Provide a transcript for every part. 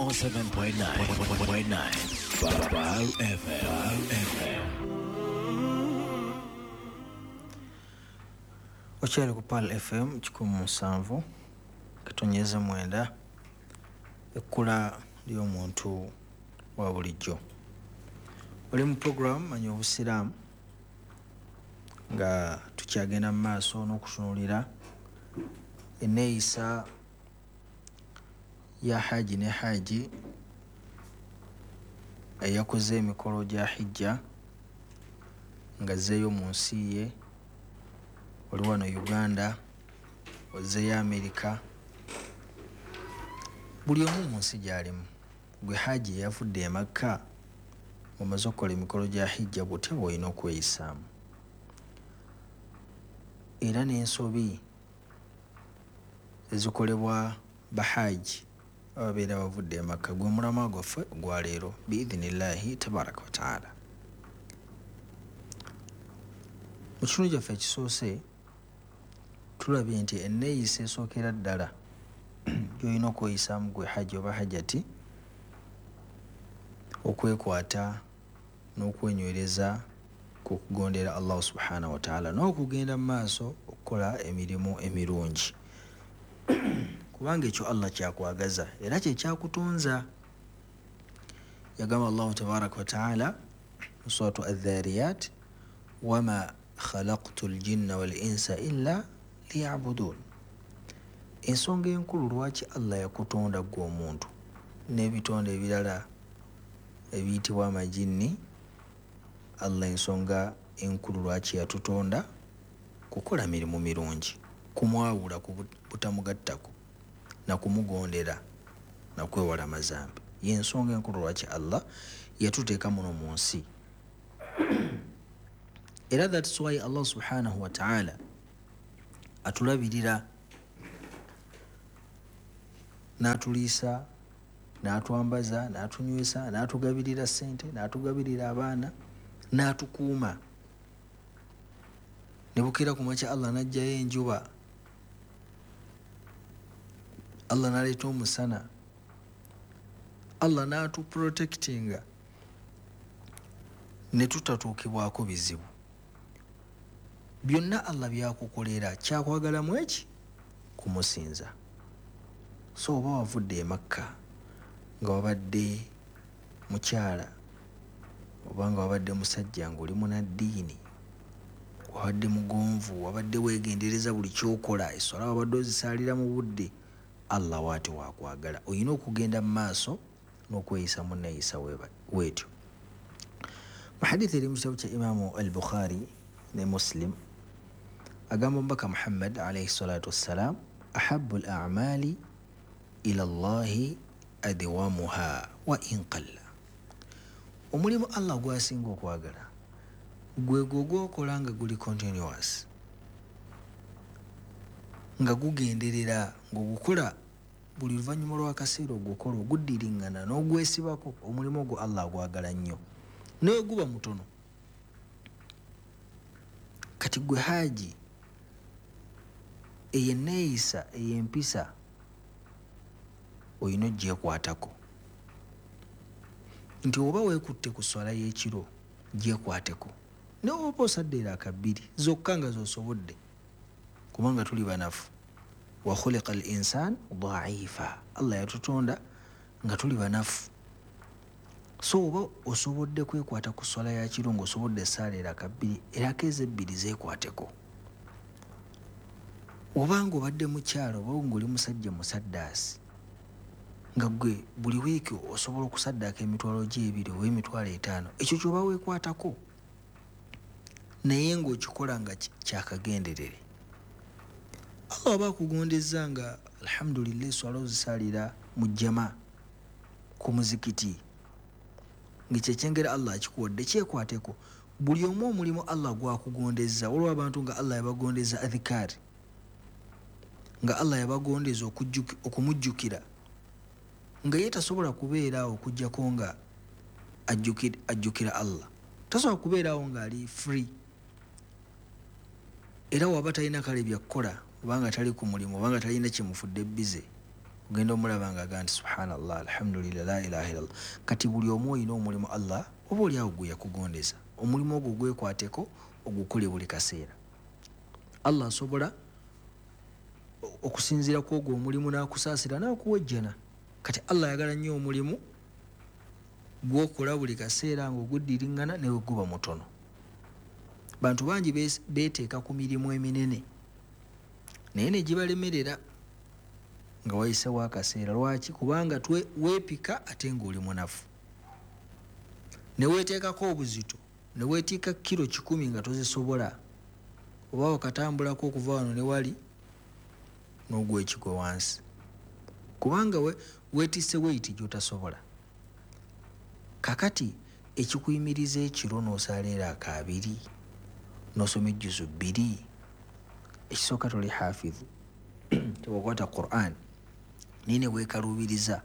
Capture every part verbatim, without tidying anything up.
oh seven point nine Pearl F M. Okyali ku Pearl F M kikumi musanvu kitonyeze mwenda, ekkula ly'omuntu wa bulijjo. Oli mu program Manya Obusiraamu nga tukyagenda mu maaso n'okutunuulira enneeyisa ya Haji ne Haji eyakoze emikolo gya Hijja ng'azzeeyo mu nsi ye. Oli wano Uganda, ozzeeyo Amerika, buli omu mu nsi gy'alimu. Gwe Haji eyavudde e Makka omaze okukola emikolo gya Hijja, butya bw'olina okweyisaamu? Era n'ensobi ezikolebwa bahaji ababeera bavudde e Makka gwe mulamwa gwaffe ogwa leero biidhinillahi tabaraka wataala. Mu kitundu kyaffe ekisoose tulabye nti enneeyisa esookera ddala gy'olina okweyisaamu gwe haji oba hajati, okwekwata n'okwenywereza ku kugondera Allah subhanahu wataala n'okugenda mu maaso okukola emirimu emirungi, kubanga ekyo Allah kyakwagaza era kye kyakutonza. Yagamba Allahu tabaraka wataala mu suratu Adh-Dhariyat, wama khalaqtu ljinna wal insa illa liyabudun. Ensonga enkulu lwaki Allah yakutonda ggwe omuntu n'ebitonde ebirala ebiyitibwa amajinni, Allah ensonga enkulu lwaki yatutonda kukola mirimu mirungi, kumwawula ku butamugattako na kumugondera na kwewala mazambi. Y'ensonga enkulu lwaki Allah yatuteeka muno mu nsi. Era that's why Allah subhanahu wa ta'ala atulabirira n'atuliisa, n'atwambaza, n'atunywesa, n'atugabirira ssente, n'atugabirira abaana, n'atukuuma. Ne bukeera ku makya Allah n'aggyayo enjuba, Allah n'aleeta omusana, Allah n'atuprotectinga ne tutatuukibwako bizibu. Byonna Allah byakukolera, kyakwagalamu eki? Kumusinza. So oba wavudde e Makka nga wabadde mukyala oba nga wabadde musajja ng'oli munnaddiini, wabadde mugonvu, wabadde weegendereza buli ky'okola, esswala wabadde ozisaalira mu budde, Allah waati wakwagala. Olina okugenda mu maaso n'okweyisa mu nneeyisa weetyo. Mu hadithi eri mu kitabo kya Imaamu al-Bukhari ne Muslim, agamba Omubaka Muhammad alayhi salatu wassalam, ahabbu al-a'mali ila Allahi adwamuha wa in qalla. Omulimu Allah gw'asinga okwagala gwe gwo gw'okola nga guli continuous, nga gugenderera, ng'ogukola buli luvannyuma lw'akaseera ogukola, oguddiriŋŋana n'ogwesibako. Omulimu ogwo Allah agwagala nnyo naye guba mutono. Kati gwe Haji, eyo enneeyisa ey'empisa olina ogyekwatako, nti oba weekutte ku sswala y'ekiro gyekwateko, naye oba osadde eraaka bbiri zokka nga z'osobodde, kubanga tuli banafu. Wa khuliqa al insan dhaifa, Allah yatutonda nga tuli banafu. So oba osobolde kwekwata ku sswala ya kiro ng'osobodde essaala eraaka bbiri, eraaka ezo ebbiri zeekwateko. Obanga obadde mukyalo oba ng'oli musajja musaddaasi, nga ggwe buli wiiki osobola okusaddaaka emitwalo gy'ebiri oba emitwalo etaano, ekyo ky'oba weekwatako, naye ng'okikola nga kyakagenderere. Allah aba akugondezza nga alhamdulillah esswala ozisaalira mu jjama ku muzikiti, ng'ekyo ekyengera Allah akikuwadde kyekwateko. Buli omu omulimu Allah gwakugondezza. Waliwo abantu nga Allah yabagondeza adhikaari, nga Allah yabagondeza okumujjukira, nga ye tasobola kubeeraawo okuggyako nga ajjukira Allah, tasobola kubeeraawo ng'ali free. Era waba talina kale byakukola, obanga tali ku mulimu, obanga talina kimufudde bize, Ogenda omulaba nga agamba nti subhanallah, alhamdulillah, la ilaha illallah. Kati buli omu olina omulimu Allah oba oli awo gwe yakugondeza, omulimu ogwo gwekwateko ogukole buli kaseera. Allah asobola okusinziira ku ogwo omulimu n'akusaasira n'akuwa ejjana. Kati Allah ayagala nnyo omulimu gw'okola buli kaseera ng'oguddiriŋŋana ne bwe guba mutono. Bantu bangi beeteeka ku mirimu eminene naye ne gibalemerera nga wayisewo akaseera. Lwaki? Kubanga weepika ate ng'oli munafu, ne weeteekako obuzito, ne weetiika kiro kikumi nga tozisobola, oba wakatambulako okuva wano ne wali n'ogwa ekigwo wansi, kubanga weetisse weight gy'otasobola. Kakati ekikuyimiriza ekiro n'osaala era akaabiri n'osoma ejjuzu bbiri, ekisooka toli hafidhu, tewakwata Qur'an, naye ne weekaluubiriza.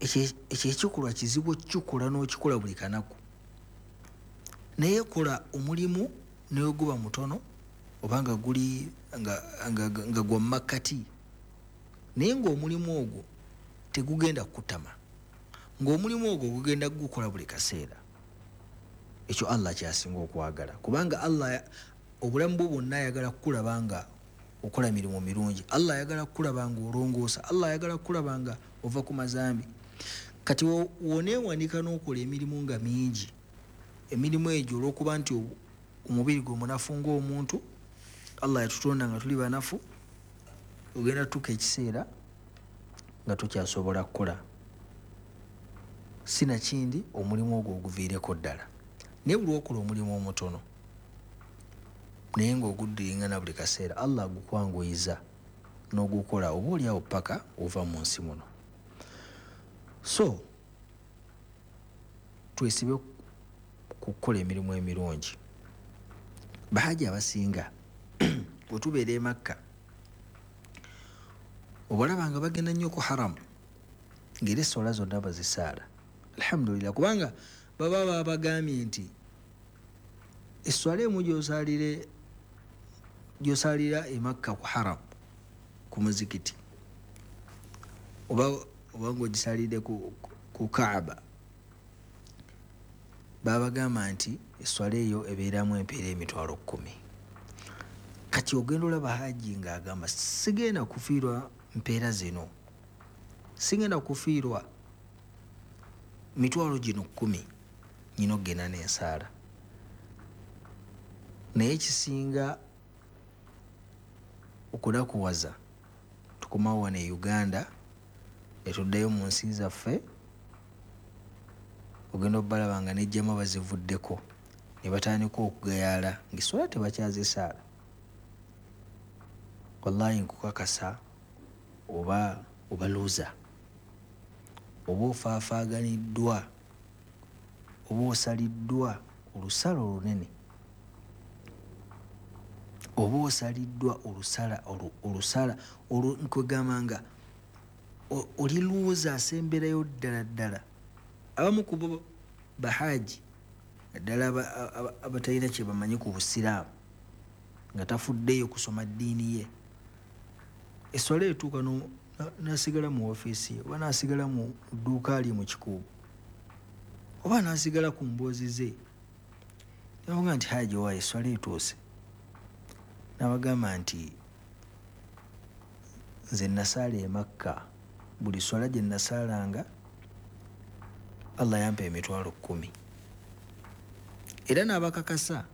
Ekyo ekikolwa kizibu okukikola n'okikola buli kanaku, naye kola omulimu ne bwe guba mutono oba nga guli nga, nga, nga gwa makkati, naye ng'omulimu ogwo tegugenda kukutama, ng'omulimu ogwo gugenda gukola buli kaseera. Ekyo Allah kyasinga okwagala, kubanga Allah obulamu bwo bwonna ayagala kukulaba nga okola mirimu mirungi. Allah ayagala kukulaba nga olongoosa, Allah ayagala kukulaba nga ova ku mazambi. Kati woneewanika n'okola emirimu nga mingi, emirimu egyo olw'okuba nti omubiri gwe munafu ng'omuntu, Allah yatutonda nga tuli banafu, ogenda tutuuka ekiseera nga tokyasobola kukola, sinakindi omulimu ogwo oguviireko ddala. Naye buli lw'okola omulimu omutono naye ng'oguddiringana buli kaseera, Allah agukwanguyiza n'ogukola oba oli awo paka ova mu nsi muno. So twesibe ku kukola emirimu emirungi. Bahaji abasinga bwe tubeera e Makka obalaba nga bagenda nnyo ku haramu ng'era essola zonna bazisaala, alhamdulillah, kubanga baba babagambye nti esswala emu gy'osaalire gy'osaalira e Makka ku haramu ku muzikiti oba oba ng'ogisaalidde ku, ku Kaaba, babagamba nti esswala eyo ebeeramu empeera emitwalo kkumi. Kati ogenda olaba haji ng'agamba sigenda kufiirwa mpeera zino, sigenda kufiirwa mitwalo gino kkumi, nyina okugenda n'ensaala. Naye ekisinga okunakuwaza, tukomawo wano e Uganda ne tuddayo mu nsi zaffe, ogenda obbalaba nga n'ejjama bazivuddeko ne batandika okugayaala ng'esswala tebakyazisaala. Wallahi nkukakasa oba obaluuza, oba ofaafaaganiddwa, oba osaliddwa olusala olunene, oba osaliddwa olusala olusala nkwegamba nga oli luuza asemberayo ddala ddala. Abamu ku bo bahaji naddala abatalina kye bamanyi ku busiraamu nga tafuddeyo kusoma ddiini ye, esswala etuuka n'asigala mu woofiisi ye oba n'asigala mu dduuka lye mu kikuubo oba n'asigala ku mboozi ze, nabaga nti haji waayo esswala etuuse, n'abagamba nti nze nasaala e Makka, buli swala gye nasaalanga Allah yampa emitwalo kkumi. Era n'abakakasa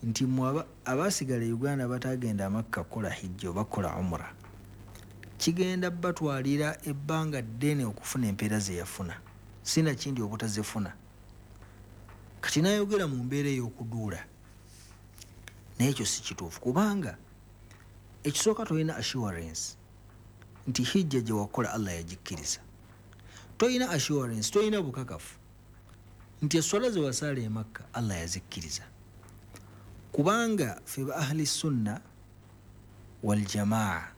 nti mmwe abaasigala e Uganda batagenda Makka kukola hijja oba kukola umra, kigenda batwalira ebbanga ddene okufuna empeera ze yafuna, sinakindi obutazifuna. Kati n'ayogera mu mbeera ey'okuduula, naye ekyo si kituufu, kubanga ekisooka tolina assurance nti hijja gye wakola Allah yagikkiriza, tolina assurance, tolina bukakafu nti esswala ze wasaala e Makka Allah yazikkiriza, kubanga ffe ba ahli sunna wal jamaa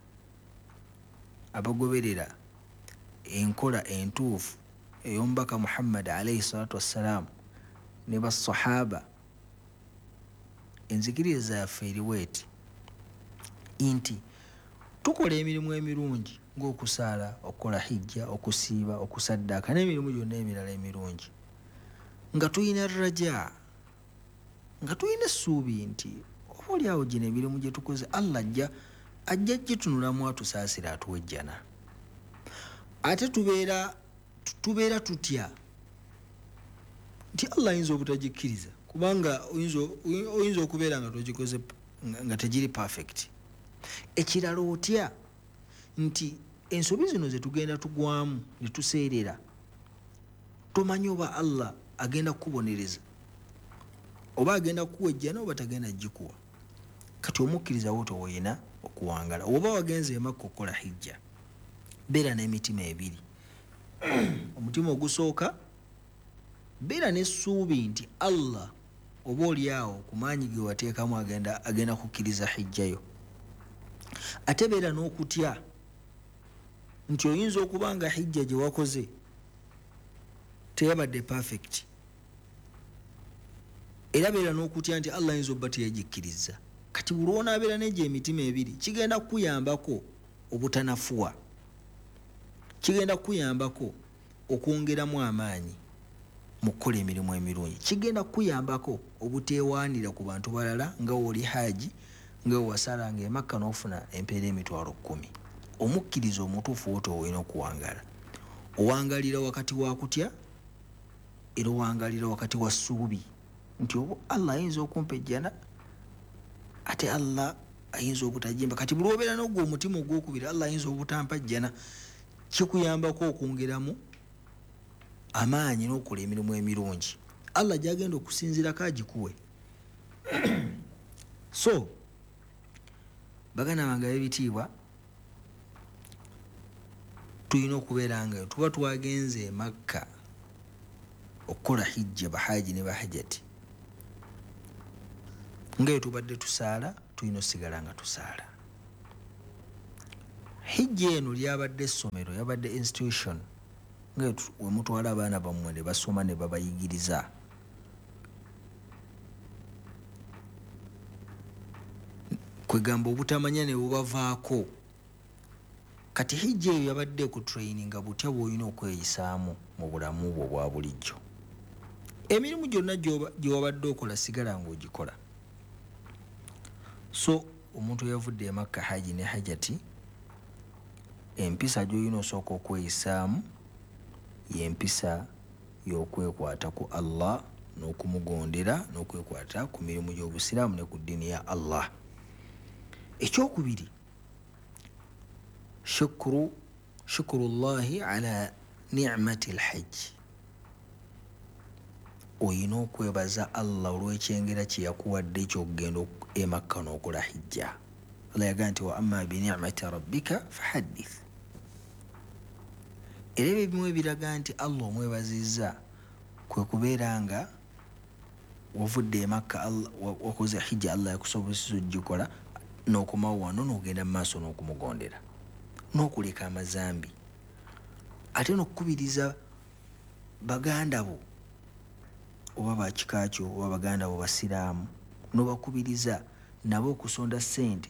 abagoberera enkola entuufu ey'omubaka Muhammad alayhi salatu wassalaamu ne basahaba, enzikiriza yaffe eriwo eti nti Tukola emirimu emirungi ng'okusaala, okukola hijja, okusiiba, okusaddaaka n'emirimu gyonna emirala emirungi, nga tulina raja, nga tulina essuubi nti oba oliawo gino emirimu gye tukoze Allah ajja ajja gitunulamu atusaasira atuwe ejjana. Ate tubeera tubeera tutya nti Allah ayinza obutagikkiriza, kubanga oyinza okubeera nga togikoze nga tegiri perfect. Ekirala otya nti ensobi zino ze tugenda tugwamu ne tuseerera, tomanyi oba Allah agenda kukubonereza oba agenda kukuwa ejjana oba tagenda gikuwa. Kati omukkiriza wo towoyina okuwangala. Oba wagenze e Makka okukola hijja, beera n'emitima ebiri. Omutima ogusooka, beera n'essuubi nti Allah oba oliawo ku maanyi ge wateekamu agenda agenda kukkiriza hijja yo. Ate beera n'okutya nti oyinza okuba nga hijja gye wakoze teyabadde perfect, era beera n'okutya nti Allah ayinza obba teyagikkiriza. Kati buli lw'onaabeera n'egyo emitima ebiri, kigenda kukuyambako obutanafuwa, kigenda kukuyambako okwongeramu amaanyi mu kukola emirimu emirungi, kigenda kukuyambako obuteewaanira ku bantu balala nga w'oli haji, nga wewasalanga e Makka n'ofuna empeera emitwalo kkumi. Omukkiriza omutuufu woto olina okuwangaala. Owangalira wakati wa kutya, era owangalira wakati wa ssuubi nti oba Allah ayinza okumpa ejjana, ate Allah ayinza obutagimpa. Kati buli lw'obeera n'ogwo omutima ogwokubiri, Allah ayinza obutampa jjana, kikuyambako okwongeramu amaanyi n'okukola emirimu emirungi Allah gy'agenda okusinziirako agikuwe. So baganda bange ab'ebitiibwa, tulina okubeera nga tuba twagenze e Makka okukola hijja, bahaji ne bahajati, nga tubadde tusaala, tulina osigala nga tusaala. Hijja eno lyabadde essomero, yabadde institution nga we mutwala abaana bammwe ne basoma ne babayigiriza. Kwegamba obutamanya ne bubavaako. Kati hijja eyo yabadde ekutraininga butya bw'olina okweyisaamu mu bulamu bwo obwa bulijjo. Emirimu gyonna gye wabadde okola sigala ng'ogikola. So omuntu eyavudde e Makka haji ne hajati, empisa gy'olina osooka okweyisaamu y'empisa y'okwekwata ku Allah n'okumugondera n'okwekwata ku mirimu gy'obusiraamu ne ku ddiini ya Allah. Ekyokubiri, shukuru shukurullahi ala ni'mati lhajj. Oyina okwebaza Allah olw'ekyengera kye yakuwadde eky'okugenda e Makka n'okola hijja. Allah yagamba nti wa amma bi ni'mati rabbika fahaddith. Era ebyo ebimu ebiraga nti Allah omwebazizza kwe kubeera nga wavudde e Makka, wakoze hijja, Allah yakusobozesa ogikola n'okomawo wano n'ogenda mu maaso n'okumugondera n'okuleka amazambi, ate n'okukubiriza baganda bo oba bakika kyo oba baganda bo basiraamu, n'obakubiriza nabo okusonda ssente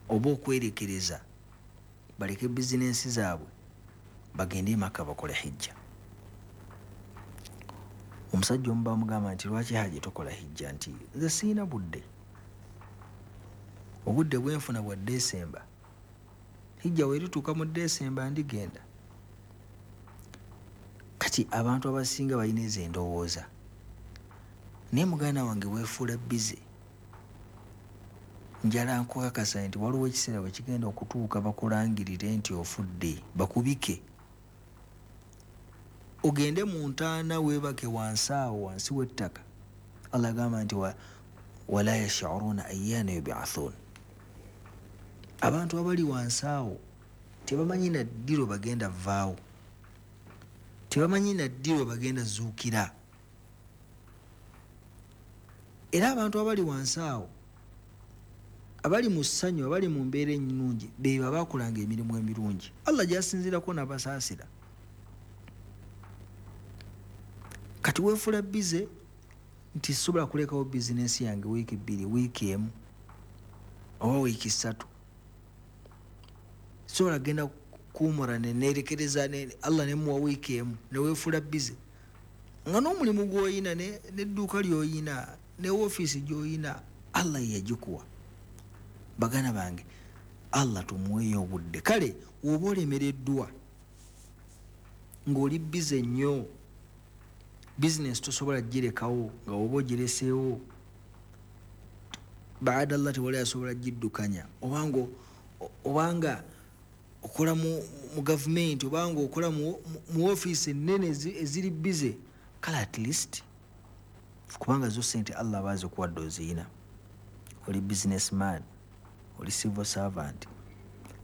oba okwerekereza baleke bizinensi zaabwe bagende e Makka bakole hijja. Omusajja omu bamugamba nti lwaki haji tokola hijja, nti nze siina budde, obudde bwenfuna bwa Desemba, hijja werituuka mu Desemba ndigenda. Kati abantu abasinga balina ezo endowooza, naye muganda wange weefuula bize. Njala nkukakasa nti waliwo ekiseera bwe kigenda okutuuka bakulangirire nti ofudde, bakubike ogende mu ntaana weebake wansi awo wansi w'ettaka. Allah agamba nti wala yash'uruna ayyana yub'athun. Abantu abali wansi awo tebamanyi na ddi lwe bagenda vaawo, tebamanyi na ddi lwe bagenda zuukira. Era abantu abali wansi awo abali mu ssanyu, abali mu mbeera ennungi, be babakolanga emirimu emirungi Allah gy'asinziirako n'abasaasira. Kati weefuula bize nti sobola kulekawo bizinensi yange wiiki bbiri, wiiki emu oba wiiki ssatu, Sobola genda kuumura nenerekereza Allah nemuwa wiiki emu neweefula bize nga n'omulimu gw'oyina n'edduuka ly'oyina ne woofiisi gy'oyina Allah yeyagikuwa. Baganda bange, Allah tumuweeyo obudde. Kale woba olemereddwa ng'oli bize nnyo, bizinesi tosobola girekawo nga woba ogireseewo baada Allah tewali asobola giddukanya, obanga obanga okola mu, mu gavumenti, obanga okola mu, mu ofiisi ennene eziri bize, kale at least kubanga zo sente Allah aba azikuwadde oziyina, oli businessman, oli civil servant,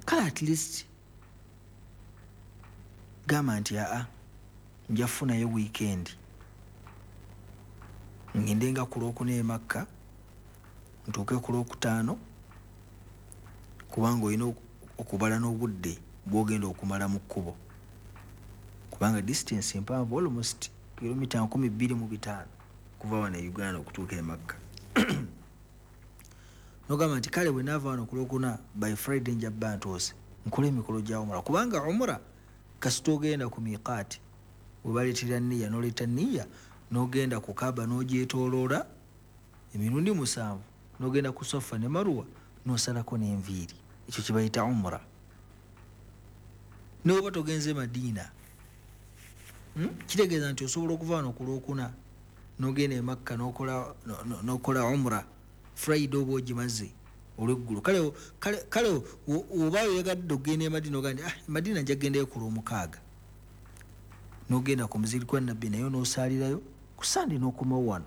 kale at least gamba nti aa nja kufunayo weekend ngende nga ku lwokuna e Makka ntuuke ku lwokutaano, kubanga olina okubala n'obudde bw'ogenda okumala mu kkubo, kubanga distance mpanvu almost kilomita nkumi bbiri mu bitaano kuva wano e Uganda okutuuka e Makka. Nogamba nti kale bwe naava wano ku lwokuna by Friday nja bba ntuuse nkole emikolo gya umura, kubanga umura kasita ogenda ku miqaati we baleetera nniya n'oleeta nniya n'ogenda ku Kaaba n'ogyetooloola emirundi musanvu n'ogenda ku Safa ne Marwa n'osalako n'enviiri, ekyo kye bayita umura. N'oba togenze Madiina, hmm? Kitegeeza nti osobola okuva wano ku lwokuna n'ogenda e Makka n'okola n'okola umura Friday oba ogimaze olweggulo. Kale kale kale oba oyagadde okugenda e Madiina ogamba nti ah, Madiina nja kugendayo ku lwomukaaga, n'ogenda ku muzikiti gwa Nabbi nayo n'osaalirayo ku Sande n'okomawo wano.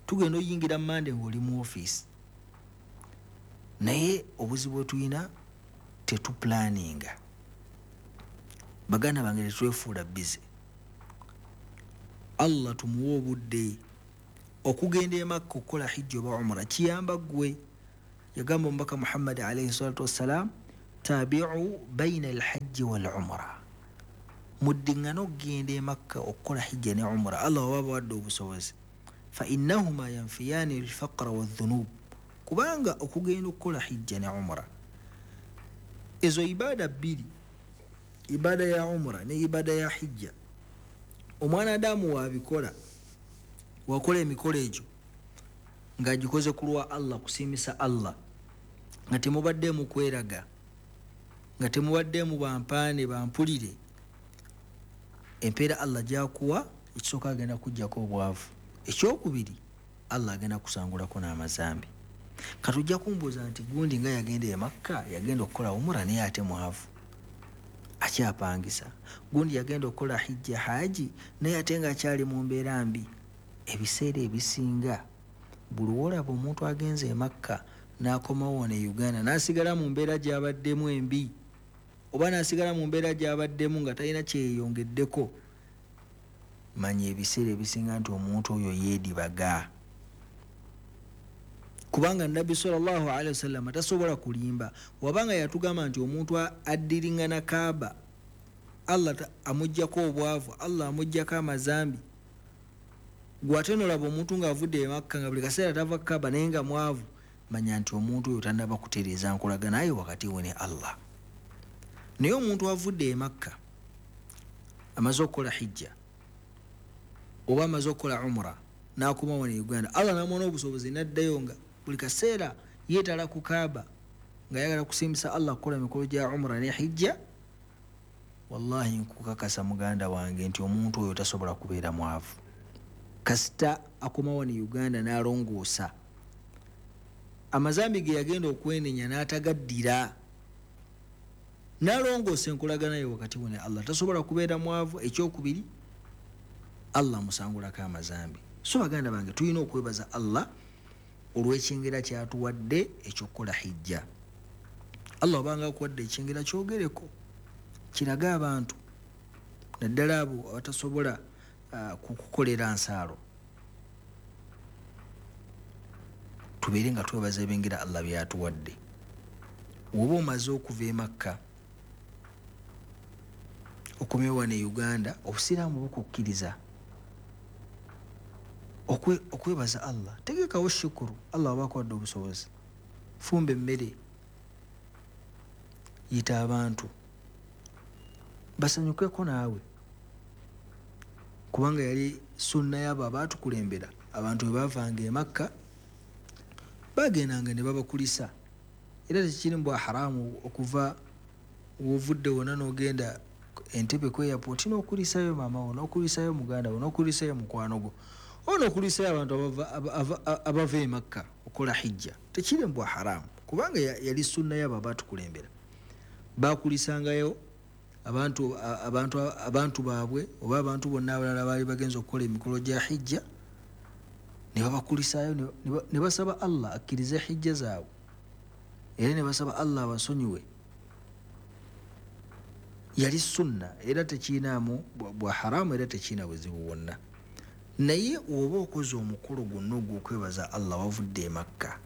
Tugenda oyingira Mande ng'oli mu ofiisi, naye obuzibu bwe tulina tetupulaninga. Baganda bange, tetwefuula bize. Allah tumuwe obudde okugenda e Makka okukola hijja oba umura kiyamba ggwe. Yagamba omubaka Muhammad alayhi salatu wassalam, tabiu baina alhajji wal umura, muddiŋŋane okugenda e Makka okukola hijja ne umura, Allah waba abawadde obusobozi. Fa innahuma yanfiyani alfaqra wadhunub, kubanga okugenda okukola hijja ne umura ezo ibada bbiri, ibada ya umura ne ibada ya hijja, omwana Adamu wabikola wakola emikolo egyo ng'agikoze ku lwa Allah, kusiimisa Allah, nga temubaddeemu kweraga, nga temubaddeemu bampaane bampulire, empeera Allah gy'akuwa ekisooka agenda kuggyako obwavu, ekyokubiri Allah agenda kusangulako n'amazambi. Kati ojja kumbuuza nti gundi nga yagenda e Makka yagenda okukola umura naye ate mwavu akyapangisa, gundi yagenda okukola hijja haji naye ate ng'akyali mu mbeera mbi. Ebiseera ebisinga buli w'olaba omuntu agenze e Makka n'akomawo wano e Uganda n'asigala mu mbeera gy'abaddemu embi, oba n'asigala mu mbeera gy'abaddemu nga talina kyeyongeddeko, manya ebiseera ebisinga nti omuntu oyo yeedibaga. Kubanga Nabbi sallallahu alaihi wasallam tasobola kulimba, wabanga yatugamba nti omuntu addiringana Kaaba Allah amuggyako obwavu, Allah amuggyako amazambi, gw'ate n'olaba omuntu ng'avudde e Makka nga buli kaseera tava Kaaba naye nga mwavu, manya nti omuntu oyo tannaba kutereeza nkolagana ye wakati we ne Allah. Naye omuntu avudde e Makka amaze okukola hijja oba amaze okukola umura n'akomawo ne Uganda, Allah n'amuwa n'obusobozi n'addayo nga buli kaseera yeetala ku Kaaba ng'ayagala kusiimisa Allah kukola emikolo gya umura ne hijja, wallahi nkukakasa muganda wange nti omuntu oyo tasobola kubeera mwavu. Kasita akomawo ne Uganda n'alongoosa amazambi ge yagenda okwenenya n'atagaddira, n'alongoosa enkolagana ye wakati we ne Allah, tasobola kubeera mwavu. Ekyokubiri, Allah amusangulako amazambi. So baganda bange, tulina okwebaza Allah olw'ekyengera kyatuwadde ekyokukola hijja. Allah obanga akuwadde ekyengera kyogereko, kirage abantu naddala abo abatasobola uh, kukukolera nsaalo, tubeere nga twebaza ebengera Allah byatuwadde. Woba omaze okuva e Makka okomyewo wano e Uganda, obusiraamu bukukkiriza okwebaza Allah. Tegekawo shukuru, Allah waba akuwadde obusobozi, fumba emmere, Yita abantu basanyukeko naawe, kubanga yali sunna yabo abaatukulembera. Abantu bwe baavanga e Makka bagendanga ne babakulisa, era tekiri mbwa haramu okuva wovudde wonna n'ogenda Entebbe ku airport n'okulisayo maama wo, n'okulisayo muganda wo, n'okulisayo mukwano gwo, oba n'okulisayo abantu abava e Makka okukola hijja. Tekiri mbwa haramu, kubanga yali sunna yabo abaatukulembera. Bakulisangayo abantu abantu abantu baabwe oba abantu bonna abalala baali bagenza okukola emikolo gya hijja, ne babakulisaayo ne basaba Allah akkirize hijja zaabwe, era ne basaba Allah abasonyiwe. Yali sunna, era tekiinaamu bwa haramu, era tekiina buzibu bwonna. Naye oba okoze omukolo gwonna ogw'okwebaza Allah wavudde e Makka,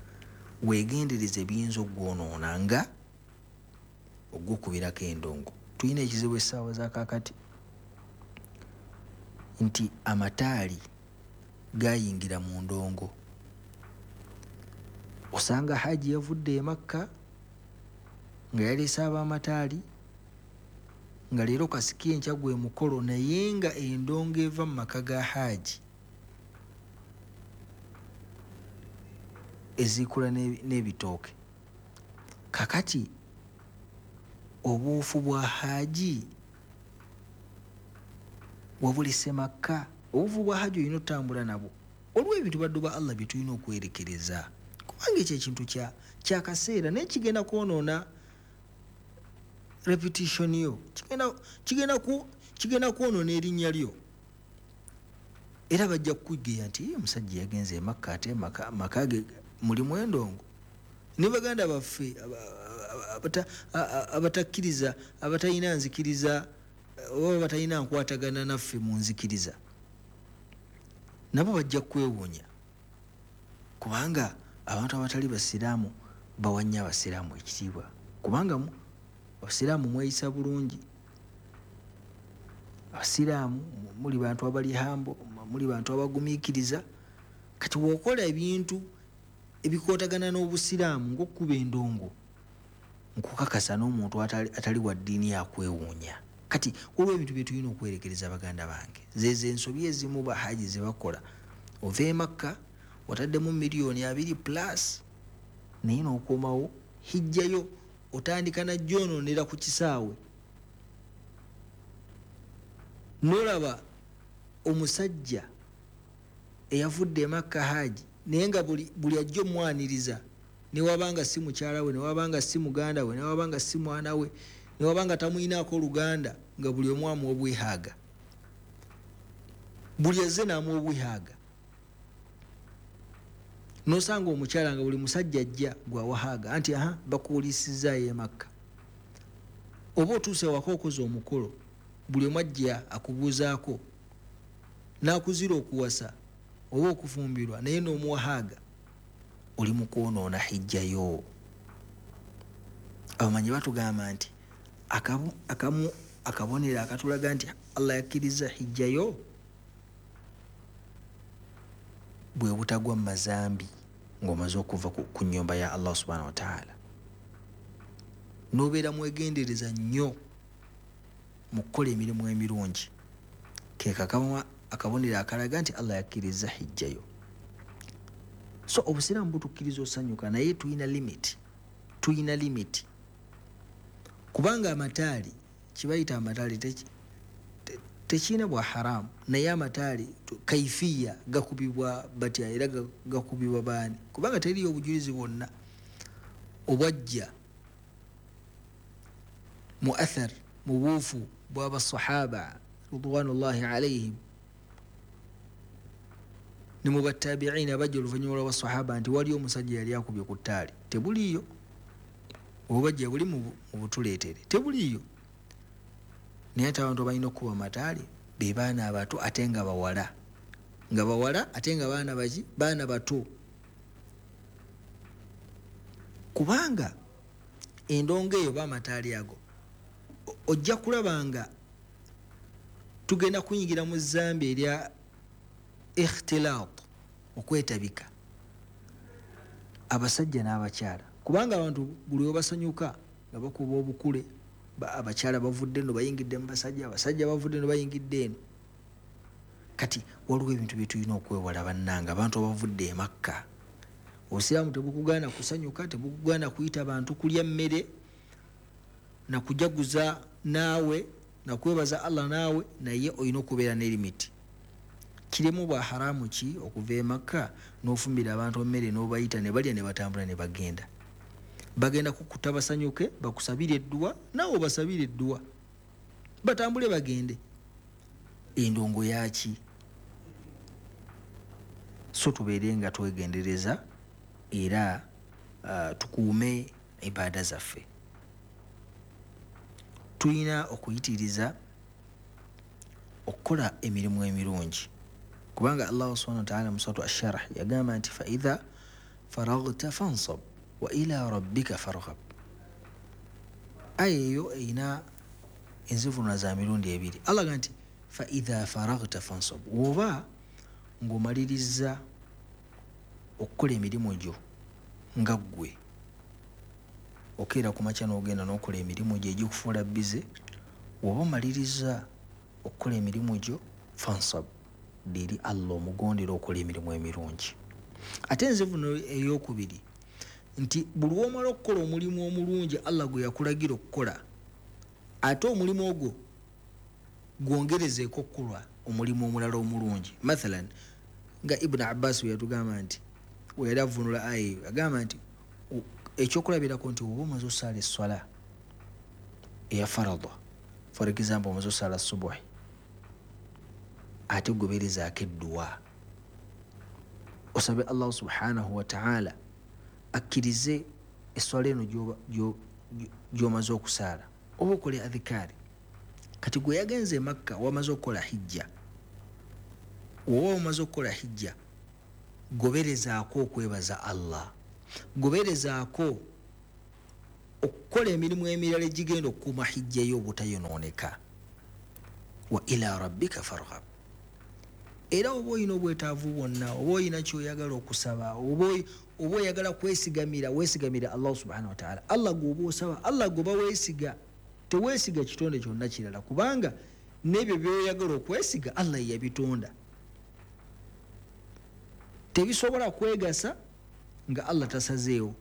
weegendereze ebiyinza okwonoona nga ogwokubirako endongo. Tulina ekizibu essaawa za kaakati nti amataali gayingira mu ndongo. Osanga haji yavudde e Makka nga yaleese ab'amataali, nga leero kasiki enkya gwe mukolo, naye nga endongo eva mu maka ga haji ezikula n'ebitooke. Kakati obuufu bwa haji wabulese Makka. Obuufu bwa haji olina otambula nabwo. Waliwo ebintu baddu ba Allah bye tulina okwerekereza, kubanga ekyo ekintu kyakaseera, naye kigenda kwonoona repetition yo, kigenda kwonoona erinnya lyo. Era bajja kukugeya nti omusajja yagenze e Makka ate maka ge mulimu endongo. Ne baganda baffe abatakkiriza, abatalina nzikiriza oba batalina nkwatagana naffe mu nzikiriza, nabo bajja kwewuunya, kubanga abantu abatali basiraamu bawa nnyo abasiraamu ekitiibwa, kubanga abasiraamu mweyisa bulungi, abasiraamu muli bantu abali hambo, muli bantu abagumiikiriza. Kati bw'okola ebintu ebikootagana n'obusiraamu ng'okkuba endongo, nkukakasa n'omuntu atali wa ddiini akwewuunya. Kati waliwo ebintu bye tulina okwerekereza baganda bange. Zezo ensobi ezimu bahaji ze bakola. Ova e Makka wataddemu miliyoni abiri plus, naye n'okomawo hijjayo otandika najjonoonera ku kisaawe. N'olaba omusajja eyavudde e Makka haji, naye nga buli ajja omwaniriza, newabanga si mukyala we, newabanga si muganda we, newabanga si mwana we, newabanga tamuyinaako oluganda, nga buli omu amuwa obwehaaga, buli azze n'amuwa obwehaaga. N'osanga omukyala nga buli musajja ajja gwawahaaga anti aha bakuwulisizaayo e Makka. Oba otuuse waka okoze omukolo, buli omu ajja akubuuzaako, n'akuzira okuwasa oba okufumbirwa, naye n'omuwahaaga, oli mu kwonoona hijjayo. Abamanyi batugamba nti akamu akabonero akatulaga nti Allah yakkiriza hijjayo bwe butagwa mu mazambi ng'omaze okuva ku nnyumba ya Allah subhanahu wa ta'ala. N'obeera mwegendereza nnyo mu kukola emirimu emirungi, ke kakamu akabonero akalaga nti Allah yakkiriza hijjayo. So obusiraamu butukkiriza osanyuka, naye tulina limit, tulina limit, kubanga amataali kibayita amataali tekirina bwa haramu, naye amataali kaifiya gakubibwa batya era gakubibwa baani? Kubanga teriyo obujulizi bwonna obwajja mu athar, mu buufu bw'abasahaba ridwanullahi alaihim ne mu batabiina abajja oluvannyuma lw'abasahaba nti waliyo omusajja yali akubye ku ttaali. Tebuliiyo. Obubajja buli mu butuleetere, tebuliiyo. Naye ate abantu balina okukuba amataali be baana abato ate nga bawala, nga bawala ate nga baana baki, baana bato, kubanga endongo eyo b'amataali ago ojja kulaba nga tugenda kuyingira mu zambi erya ikhtilaat, okwetabika abasajja n'abakyala, kubanga abantu buli we basanyuka nga bakuba obukule, abakyala bavudde eno bayingidde mu basajja, abasajja bavudde eno bayingidde eno. Kati waliwo ebintu bye tulina okwewala bannange, abantu abavudde e Makka. Obusiraamu tebukugaana kusanyuka, tebukugaana kuyita bantu kulya mmere na kujaguza naawe na kwebaza Allah naawe, naye olina okubeera ne limiti. Kiremu bwa haramu ki okuva e Makka n'ofumbira abantu emmere n'obayita ne balya ne batambula ne bagenda? Bagenda kukuta basanyuke, bakusabire edduwa, naawe obasabire edduwa, batambule bagende. Endongo yaki? So tubeere nga twegendereza era uh, tukuume ibaada zaffe. Tulina okuyitiriza okukola emirimu emirungi, kubanga Allah subhanahu wa ta'ala mu suratu Ash-Sharh yagamba nti fa idha faraghta fansab wa ila rabbika farghab. Aya eyo erina enzivuunula za mirundi ebiri. Allah agamba nti fa idha faraghta fansab, woba ng'omaliriza okukola emirimu gyo nga ggwe okeera ku makya n'ogenda n'okola emirimu gyo egikufuula bize, woba omaliriza okukola emirimu gyo fansab, eri Allah omugondera okola emirimu emirungi. Ate enzivuunula ey'okubiri nti buli lw'omala okukola omulimu omulungi Allah gwe yakulagira okukola, ate omulimu ogwo gwongerezeeko okukola omulimu omulala omulungi. Mathalan nga Ibn Abbas bwe yatugamba nti we yali avvuunula aya eyo, agamba nti ekyokulabirako nti oba omaze osaala esswala eya farada, for example omaze osaala subuhi, ate goberezaako edduwa, osabe Allah subhanahu wa ta'ala akkirize esswala eno gy'omaze okusaala, oba okole adhikaari. Kati gwe yagenze e Makka wamaze okukola hijja, oba omaze okukola hijja, goberezaako okwebaza Allah, goberezaako okukola emirimu emirala egigenda okukuuma hijja yo obutayonooneka. Wa ila rabbika farghab. Era oba olina obwetaavu bwonna, oba olina ky'oyagala okusaba, oba oyagala kwesigamira, weesigamira Allah subhanahu wa ta'ala. Allah gw'oba osaba, Allah gw'oba weesiga, teweesiga kitonde kyonna kirala, kubanga n'ebyo by'oyagala okwesiga Allah ye yabitonda. Tebisobola kwegasa nga Allah tasazeewo,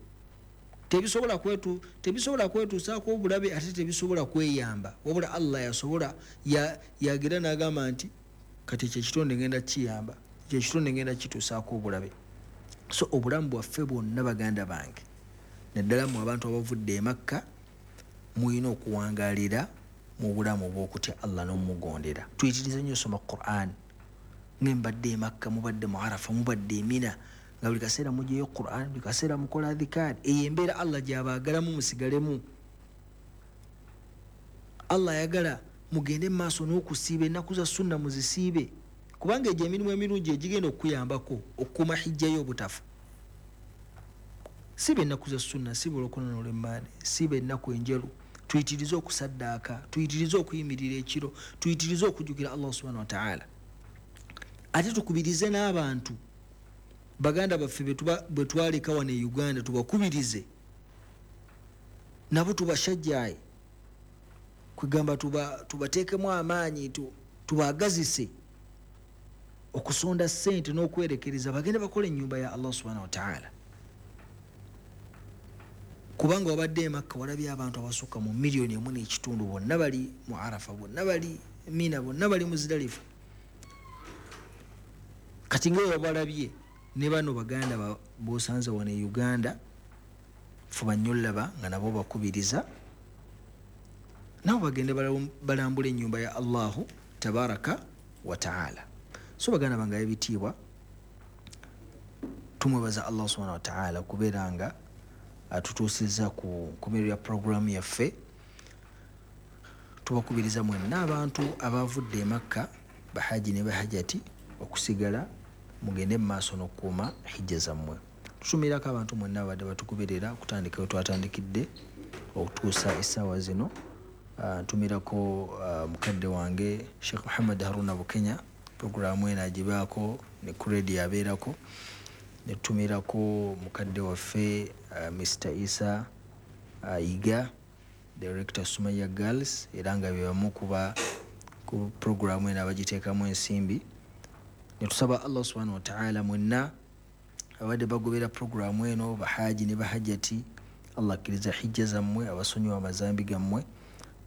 tebisobola kwetu tebisobola kwetuusaako obulabe, ate tebisobola kweyamba, wabula Allah yasobola yagira n'agamba nti kati ekyo ekitonde ngenda kiyamba, ekyo ekitonde ngenda kituusaako obulabe. So obulamu bwaffe bwonna baganda bange, naddala mu abantu abavudde e Makka, mulina okuwangaalira mu bulamu obw'okutya Allah n'omugondera. Tuyitirize nnyo osoma Qur'an. Mwe mbadde e Makka, mubadde mu Arafa, mubadde e Mina, nga buli kaseera mugyeyo Qur'an, buli kaseera mukola adhikaari. Eyo embeera Allah gy'abaagalamu musigalemu. Allah ayagala mugende mu maaso n'okusiiba ennaku za sunna muzisiibe, kubanga egyo emirimu emirungi egigenda okukuyambako okukuuma hijja yo obutafa. Siba ennaku za sunna, siba olwokuna n'olwemmaande, siba ennaku enjeru. Tuyitirize okusaddaaka, tuyitirize okuyimirira ekiro, tuyitirize okujjukira Allah subhanahu wa ta'ala. Ate tukubirize n'abantu baganda baffe bwe twaleka wano e Uganda, tubakubirize nabo tubashajjaye, kwegamba tubateekemu amaanyi, tubagazise okusonda ssente n'okwerekereza bagende bakole ennyumba ya Allah subhanahu wa ta'ala. Kubanga wabadde e Makka walabye abantu abasukka mu miliyoni emu n'ekitundu, bonna bali mu Arafa, bonna bali Mina, bonna bali Muzdalifa. Kati nga wabalabye ne bano baganda b'osanze wano e Uganda, fuba nnyo olaba nga nabo bakubiriza nabo bagende balambule ennyumba ya Allahu tabaraka wa ta'ala. So baganda bange ebitiibwa, tumwebaza Allah subhanahu wa ta'ala okubeera nga atutuusizza ku nkomerero ya puroguramu yaffe. Tubakubiriza mwenna abantu abavudde e Makka, bahaji ne bahajati, okusigala mugende mu maaso n'okukuuma hijja zammwe. Tutumirako abantu mwenna abadde batukuberera okutandika we twatandikidde okutuusa essaawa zino. Ntumirako mukadde wange Sheikh Muhammad Haruna Bukenya, puroguramu eno agibaako ne ku radio abeerako. Netumirako mukadde waffe Mister Isa Yiga, Director Sumaya Girls, era nga bebamu kuba ku programu eno abagiteekamu ensimbi. Ne tusaba Allah subhanahu wa ta'ala mwenna abadde bagobera programu eno, bahaji ne bahajjati, Allah akkiriza hijja zammwe, abasonyiwa amazambi gammwe,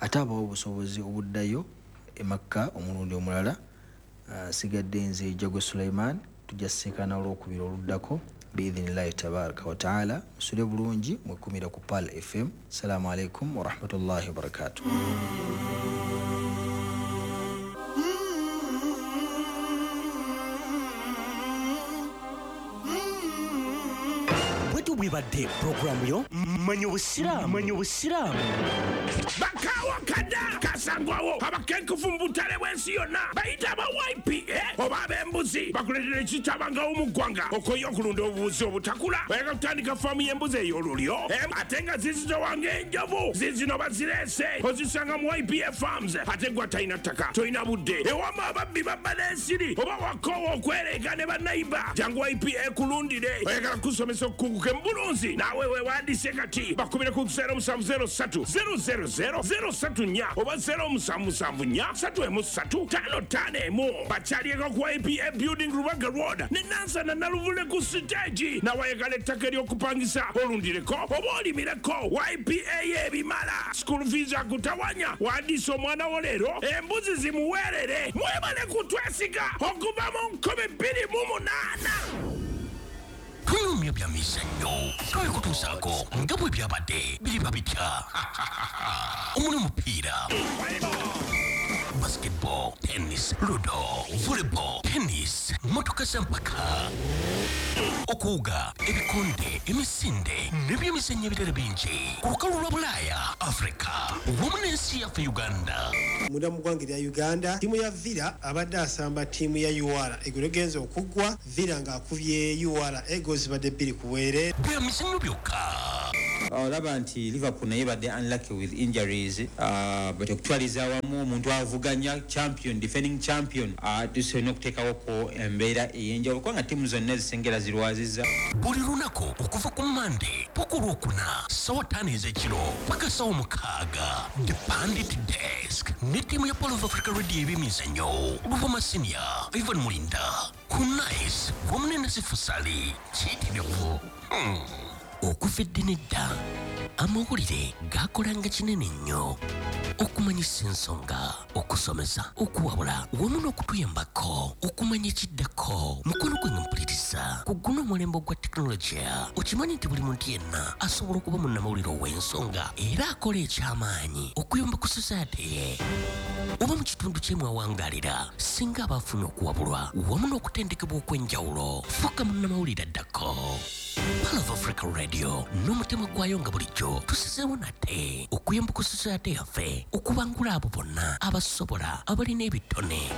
ate abawa obusobozi obuddayo e Makka omulundi omulala. Sigadde nze Jagwe Sulaiman, tujja sisinkana olwokubiri oluddako biidhinillahi tabaraka wa taala. Musule bulungi, mwekumira ku Pearl F M. Assalamu alaikum warahmatullahi wabarakatuh. Bwebadde programu yo Manya Obusiraamu. Manya Obusiraamu. Bakawa kada kasangwawo abakenkufu mu butale bw'ensi yonna bayita aba Y P A oba ab'embuzi bakuleetera ekitabangawo mu ggwanga okoye okulunda obubuzi obutakula. Bayagala kutandika faamu y'embuzi ey'olulyo ate nga zizitowa ng'enjovu. Zizino bazireese ozisanga mu Y P A Farms. Ate gwe atalina ttaka, tolina budde, ewama ababbi babba n'ensiri oba wakoowa okwereega ne bannayiba, jangu Y P A kulundire. Oyagala kusomesa okukuguka mu bulunzi naawe weewandise kati bakubire ku zero musanvu zero ssatu zero zero zero zero ssatu nnya oba zero musanvu musanvu nnya ssatu emu ssatu ttaano ttaano emu. Bakyalieko ku Y P A Building Rubaga Road ne Nansana Naluvule ku siteegi. Nawayagala ettaka ery'okupangisa olundireko oba olimireko. Y P A y'ebimala. School fees akutawanya. Wandiisa omwana wo leero embuzi zimuweerere. Mwebale kutwesiga okuva mu nkumi bbiri mu munaana. Tunyumya bya mizannyo twabikutuusaako nga bwe byabadde biriba bitya. Omuli omupiira, basketball, tennis, ludo, volleyball, tennis, motoka z'empaka, okuwuga, ebikonde, emisinde n'ebyemizannyo ebirala bingi ku lukalu lwa Bulaaya, Afrika wamu n'ensi yaffe Uganda. Munda mu ggwanga erya Uganda, ttiimu ya Villa abadde asamba ttiimu ya U R eggulo egenze okuggwa, Villa ng'akubye U R eggoals zibadde bbiri ku bwereere. Bya mizannyo byokka. Olaba nti Liverpool naye badde unlucky with injuries, uh, but okutwaliza awamu omuntu avuganya champion, defending champion, uh, tusobola okuteekawoko embeera ey'enjawulo kubanga ttiimu zonna ezisengera zirwazizza. Buli lunaku okuva ku Mmande paka Olwokuna ssaawa ttaano ez'ekiro paka ssaawa mukaaga, The Pundit Desk ne ttiimu ya Pearl of Africa Radio ey'ebyemizannyo, Luvuma Senior, Ivan Mulinda, Kunais wamu ne Nasifu Sali kiyitirivu. Hmm. Okuva edda n'edda amawulire gakolanga kinene nnyo okumanyisa ensonga, okusomesa, okuwabula wamu n'okutuyambako okumanya ekiddako. Mukono gwe mpuliriza ku guno omulembe ogwa tekinologiya, okimanyi nti buli muntu yenna asobola okuba munnamawulire ow'ensonga era akola ekyamaanyi okuyamba ku society ye oba mu kitundu kye mwawangalira. Singa aba afunye okuwabulwa wamu n'okutendekebwa okw'enjawulo, fuuka munnamawulire addako. Pearl of Africa Radio n'omutima gwayo nga bulijjo tusizeewo nate okuyamba ku society yaffe okubangula abo bonna abasobola abalina ebitone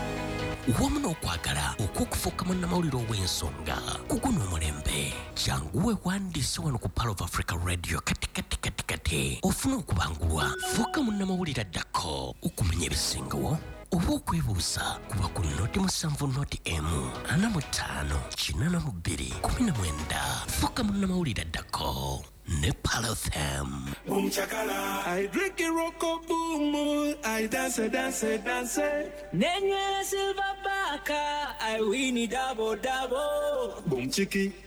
wamu n'okwagala okw'okufuuka munnamawulire ow'ensonga ku guno omulembe. Jangu weewandiise wano ku Pearl of Africa Radio kati kati kati kati ofune okubangulwa, fuuka munnamawulire addako okumanya ebisingawo oba okwebuuza kuba ku noti musanvu noti emu ana mu ttaano kinaana mu bbiri kumi na mwenda. Fuuka munnamawulire addako ne Pearl F M. Boom chakala, I drink it roko boom, I dance dance dance. Nenywera silver baka, I win it double double. Boom chiki.